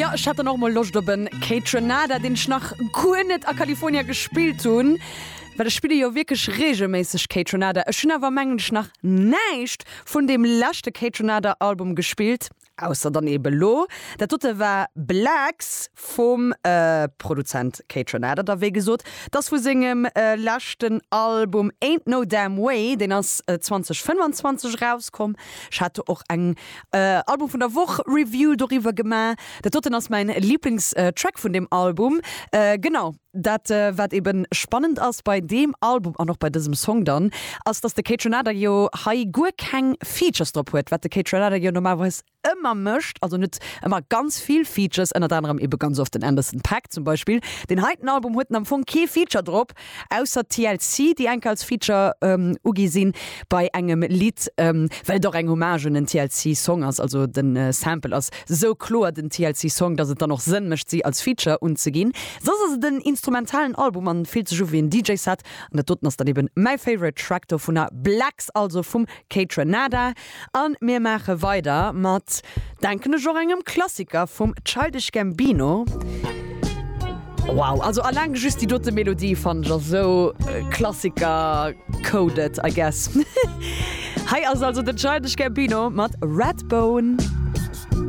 Jo, ech hat dann och mol Loscht op en Kaytranada, deen ech nach guer net a California gespillt hunn, well ech spille jo wierklech regelméisseg Kaytranada. Ech hunn awer mengen ech nach näischt vun deem leschte Kaytranada Album gespillt, ausser dann ebe lo. Dat dote war Blacks vum Produzent Kaytranada da wéi gesot. 't ass vu sengem leschten Album Ain't No Damn Way, deen ass 2025 erauskomm. Ech hat do och eng Album vun der Woch Review doriwwer gemaach. Dat doten ass mäin Liblingstrack vun deem Album. Genau, dat wat eben spannend ass bei deem Album an och bei dësem Song dann, ass dass de Kaytranada jo hei guer keng Features drop huet, wat de Kaytranada jo normalerweis ëmmer mécht, also net ëmmer ganz vill Features, ënnert anerem ebe ganz oft den Anderson .Paak zum Beispill. Deen heiten Album huet am Fong kee Feature drop, ausser TLC, déi enk als Feature ugi sinn bei engem Lidd, well et och eng Hommage un en TLC Song ass, also de Sample ass sou kloer den TLC Song, dass et dann och Sënn mécht si als Feature unzeginn. Soss ass et en instrumentalen Album an fillt sech u wéi en DJ Set an dat doten ass dann eben mäi favorite Track dovunner, Blacks also vum Kaytranada. An mir maache weider mat, denken ech, och engem Klassiker vum Childish Gambino. Wow, also alleng just déi dote Melodie fannen ech ass esou Klassiker coded, I guess. Hei ass also den Childish Gambino mat Redbone.